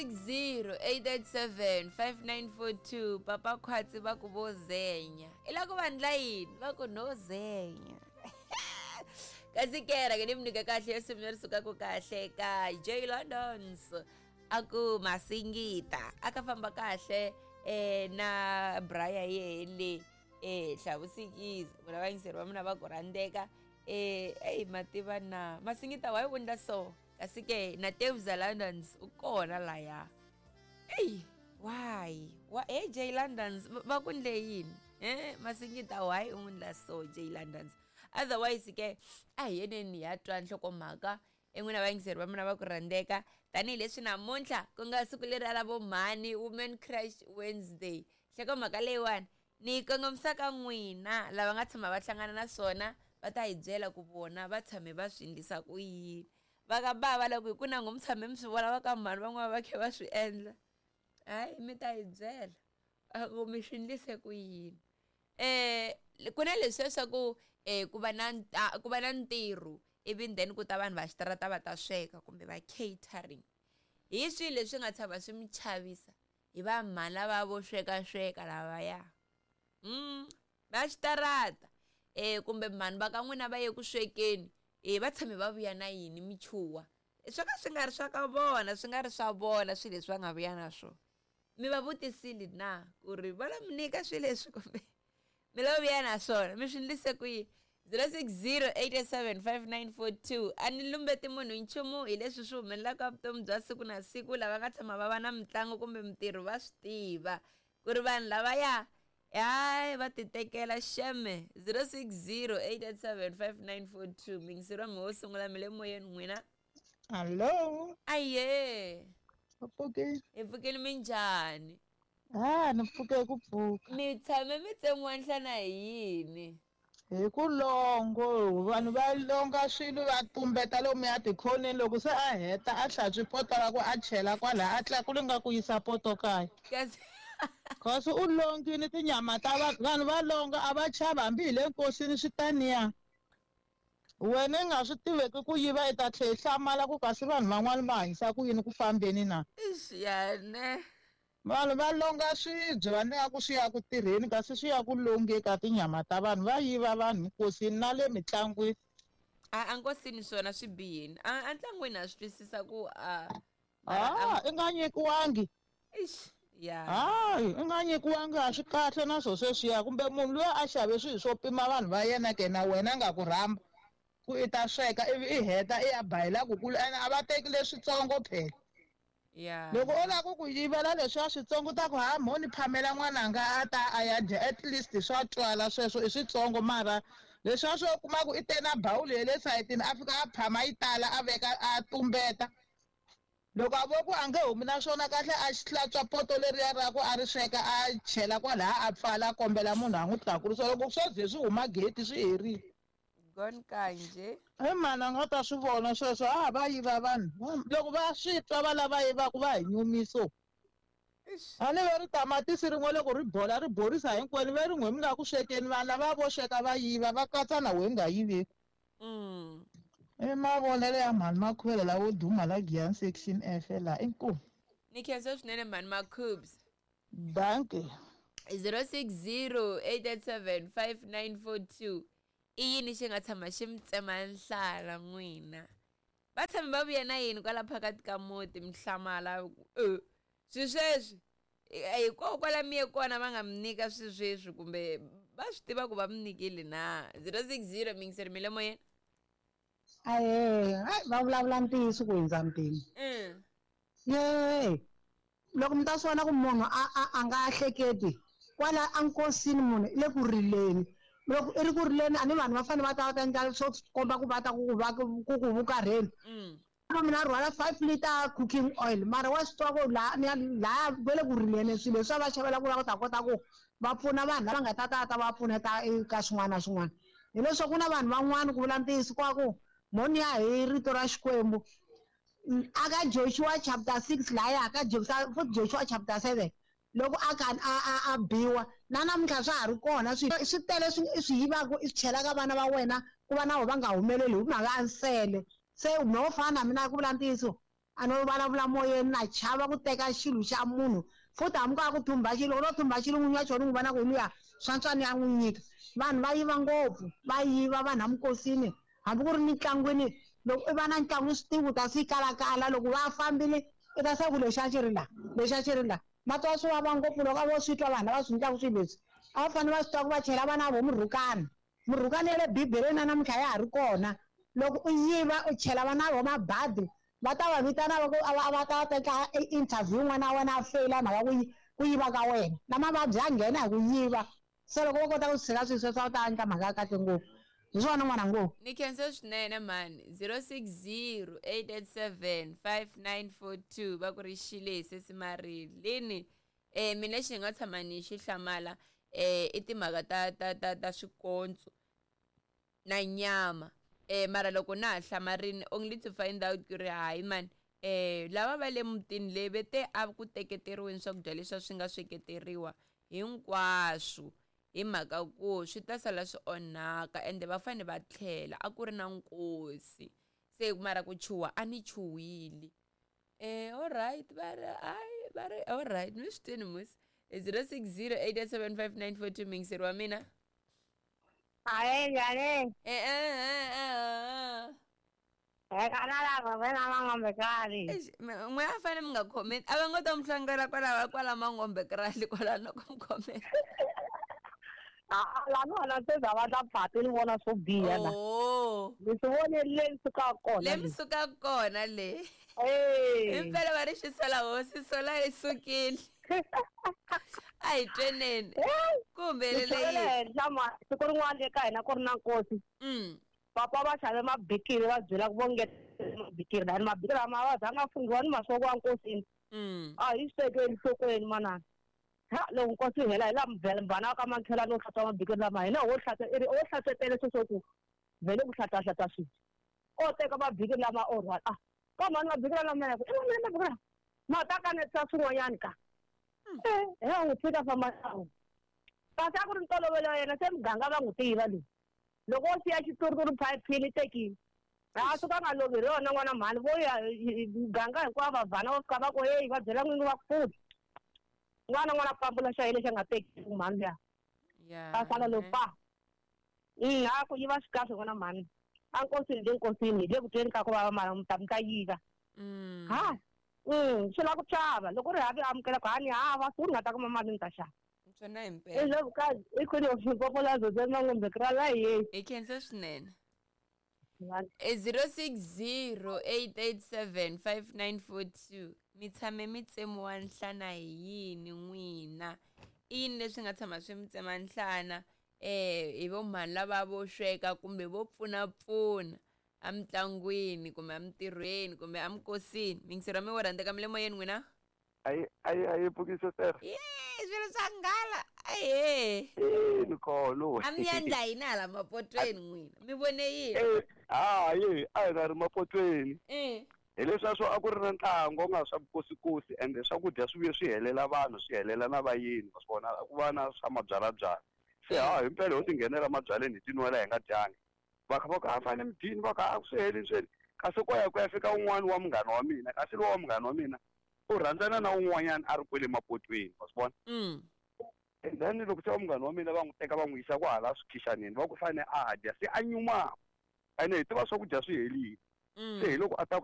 060 887 5942. Papa Khwatsi va ku vo zenya. I la ku va ndla yini? Va ku no zenya. Kasi ke rhanga ni mi nyika kahle risimu leri sukaka kahle ka J Londons, a ku Masingita. A ka famba kahle na Brian yele hlavusikizi vona vayingiseri va mina va ku rhandzeka. Eyi, mativa na Masingita wa yi vundla so. Kasi ke na Tevza Londons u kona laya. Eyi, why wa hey J Londons, va ku ndle yini? Masingita why u n'wi ndla so J Londons? Otherwise ke a hi yeneni hi ya twa nhlokomhaka en'wina vayingiseri va mina va ku rhandzeka, tanihileswi namuntlha ku nga siku leri ra vo mhani, Women Crush Wednesday. Nhlokomhaka leyiwani ni yi kongomisa ka n'wina lava nga tshama va hlangana na swona, va ta hi byela ku vona va tshame va swi endlisa ku yini. Va ka bava loko hi ku nango mi tshame mi swi vona va ka mhani van'wana va khe va swi endla, hayi, mi ta hi byela a ku mi swi endlise ku yini. Ku na leswiya swa ku ku va na ntirho, ivi then ku ta vanhu va xitarata va ta sweka kumbe va catering. Hi swihi leswi nga tshama swi mi chavisa hi va mhani lava vo sweka sweka lavaya va xitarata, kumbe mhani va ka n'wina va ye ku swekeni, va tshame va vuya na yini mi chuha swo ka swi nga ri swa ka vona, swi nga ri swa vona swilo leswi va nga vuya na swona? Mi va vutisile na ku ri va lo mi nyika swilo leswi kumbe mi lo vuya na swona, mi swi endlise ku yini? 060 887 5942. A ni lumbeti munhu nchumu hi leswi swi humelelaka vutomi bya siku na siku. Lava nga tshama va va na mitlangu kumbe mintirho va swi tiva ku ri vanhu lavaya hayi va ti tekela xeme. 060 887 5942. Mingiseri wa mi wo sungula, mi le moyeni n'wina. Hallo. Aye. U pfukile? Hi pfukile, minjhani? Ah, ni pfuke ku pfuka. Mi tshame mi tsemiwa nhlana hi yini? Hi ku longo, vanhu va longa swilo va tumbeta lomuya tikhoneni, loko se a heta a hlantswi poto ra ku a chela kwala, a tlakula nga ku yisa poto kaya. Kasi Kasi u longile tinyama ta vanhu va longa a va chavi, hambi hi le nkosini swi taniya. Wena i nga swi tiveki ku yiva, i ta tlhela i hlamala ku kasi vanhu van'wani va hanyisa ku yini ku fambeni na. Ixi yane. Vanhu va longa swibye va nga ku swi ya ku tirheni, kasi swi ya ku longe ka tinyama ta vanhu, va yiva vanhu nkosini na le mitlangwini. A nkosini swona swi bihini. A ntlangwini a swi twisisa ku a Ah, i nga nyikiwangi. Ixi ya. Hayi, i nga nyikiwangi a swi kahle na swo sweswiya, kumbe munhu luya a xave swilo swo pima vanhu va yena ke na wena nga ku rhamba ku i ta sweka, ivi i heta i ya bayela ku kulu, ene a va teki leswitsongo phela. Loko o lava ku ku yivela leswiya switsongo, ta ku ha mo ni phamela n'wananga a ta a ya dya, at least swa twala sweswo i switsongo, mara leswiya swo kuma ku i te na bawuli ya le sayitini, a fika a phama yi tala, a veka a tumbeta, loko a vo ku a nge humi na swona kahle, a xi hlantswa poto leriya ra ku a ri sweka, a chela kwalaya, a pfala, a kombela munhu a n'wi tlakurisa, loko swo ze swi huma gate swi herile. Gone kanje. I mani a nga ta swi vona sweswo? A va yiva vanhu, loko va swi twa va lava yivaku va hi nyumiso. Ixi. A ni ve ri tamatisi rin'we loko ri bola ri borisa hinkwenu, ve rin'we mi nga ku swekeni, vanhu lava vo sweka va yiva va katsa na wehe nga yiveki. I mavonelo ya mhani Makhuvele lawo duma la Giyani section F la, inkomu. Ni khensa swinene mhani Makhubs. Dankie. 060 887 5942. I yini xi nga tshama xi mi tsema nhlana n'wina? Va tshame va vuya na yini kwala phakati ka muti mi hlamala ku swi sweswi hikokwala mi ye kona va nga mi nyika swi sweswi, kumbe va swi tiva ku va mi nyikile na? 060, mingiseri, mi le moyeni. Ahee, hayi, va vulavula ntiyiso ku hundza mpimo. Ye loko mi ta swi vona ku munhu a nga hleketi kwala enkosini, munhu i le ku rileni, loko i ri ku rileni a ni vanhu va fanele va ta va ta endla swo komba ku va ta ku ku va ku ku vukarheni. Mina rhwala 5 liter cooking oil, mara wa swi twa ku laha ni ya laha va le ku rileni, swilo leswi va xavela ku lava ku ta kota ku va pfuna vanhu lava nga ta ta ta va pfuneta eka swin'wana na swin'wana. Hileswaku ku na vanhu van'wana, ku vula ntiyiso, kwa ku moni ya hi rito ra Xikwembu aka Joshua chapter 6 laya ka Joshua, futhi Joshua chapter 7, loko a ka a biwa na namuntlha swa ha ri kona, swi swi tele swi i swi yivaka, i swi chelaka vana va wena ku va na vona va nga humeleli hi mhaka ya nsele. Se no fana na mina, ku vula ntiyiso. A no vulavula moyeni na chava ku teka xilo xa munhu futhi hambi ku a ku thumba xilo no thumba xilo n'winyi wa xona n'wi vona ku hi luya swantswani ya n'wi nyika. Vanhu va yiva ngopfu, va yiva vanhu amikosini hambi ku ri mitlangwini. Loko i va na ntlangu swi tivi u ta swi kalakala loko va fambile i ta swa ku lexi a xi ri la, lexi a xi ri la. Ma twa swi vava ngopfu loko a vo swi twa vanhu lava swi endlaka swilo leswi. A va fanele va swi twa ku va chela vana vo murhukani. Murhukani ya le Bibeleni na namuntlha ya ha ri kona. Loko u yiva u chela vana vo mabadi va ta va vitana va ku a va ta teka interview n'wana wa wena a feyila mhaka ku yiva ka wena. Na mavabyi ya nghena hi ku yiva. Se loko vo kota ku tshika swilo sweswo a wu ta endla mhaka ya kahle ngopfu. Hi swona n'wana ngo. Ni khensa swinene mhani. 060 887 5942 va ku ri xile sesi Marilyn. Mina lexi ni nga tshama ni xi hlamala i timhaka ta swikontso na nyama. Mara loko na ha hlamarini only to find out ku ri hayi mani, lava va le mutini leyi ve te a ku teketeriweni swakudya leswi swi nga sweketeriwa hinkwaswo hi mhaka ku swi ta sala swi onhaka ende va fanele va tlhela a ku ri na nkosi. Se mara ku chuha a ni chuhile. Alright va ri hayi va ri alright mi swi twini musi. 060 887 5942 mingiseri wa mina. Ae, njhani? N'we a fanele mi nga comment a va ngo ta mi hlangela kwala Mangombe krali kwala loko mi comment. La no na se za va ta phati ni vona swo biha la. Ni swi vone le ni sukaka kona. Le mi sukaka kona le. Impela va ri xisola hosi sola yi sukile. A hi tweneni. Ku humelele yini? Siku rin'wana eka hina ku ri na nkosi. Papa va xave mabikiri va byela ku vongetela mabikiri lani mabikiri lama va zanga funghiwa ni masoko ya nkosini. A hi swi tekeli enhlokweni manana. Ha loko nkosi yi hela hi laha mbhana wa ka makhelwani wo hlantswa mabikiri lama hina ho hlantswa i ri o hlantswetele sweswo ku vhele ku hlantswa swilo. O teka mabikiri lama o rhwala. A ka mhani mabikiri lama ya ku i mina mabikiri lama ma ta kanetisa swin'wanyani ka. Hi ya n'wi tshika famba na. Kasi a ku ri ntolovelo wa yena se muganga va n'wi tiva loyi. Loko wo siya xituruturu phayiphini tekile. A suka nga lovi hi rona n'wana mhani vo ya muganga hinkwavo va vhana va fika va ku heyi va byela n'wingi va ku futhi. N'wana pambula xa yena lexi a nga teki mhani luya. A sala lo pa. A ku yiva swi kahle n'wana mhani. A nkosini le nkosini le ku tweni ka ku vava mara mi ta mi ta yiva. Ha. Swi lava ku xava loko ri havi amukela ku hani hava siku ni nga ta kuma mali ni ta xava. Swona himpela. I Ndlovukazi i Queen of Limpopo la Zoze Mangombe Krala hi. Hi khensa swinene. 060 887 5942 mi tshame mi tsemiwa nhlana hi yini n'wina? I yini leswi nga tshama swi mi tsema nhlana hi vo mhani lava vo sweka kumbe vo pfunapfuna emitlangwini kumbe emitirhweni kumbe emikosini? Mingisero mi wo rhandzeka mi le moyeni n'wina? Ayi pfukise sir. Swilo swa nghala. Ahe. Ni kholo. A mi endla yini hala mapotweni n'wina? Mi vone yini? Hayi, a hi nga ri mapotweni. Hi leswiya a ku ri na ntlangu nga swa vukosikosi ende swakudya swi vuye swi helela vanhu, swi helela na vayeni, wa swi vona ku va na swa mabyalabyala. Se ha himpela ho tinghenela mabyaleni hi tinwela hi nga dyangi. Va kha va ku a fanele mi dyini, va kha a swi heli swi heli. Kasi ko ya ku ya fika un'wana wa munghana wa mina, kasi lowa wa munghana wa mina u rhandzana na un'wanyana a ri kwele mapotweni, wa swi vona? And then loko se wa munghana wa mina va n'wi teka va n'wi yisa kwahala swikhishaneni, va ku fanele a dya, se a nyumaka. Ene hi tiva swakudya swi helile. Se hi loko a ta ku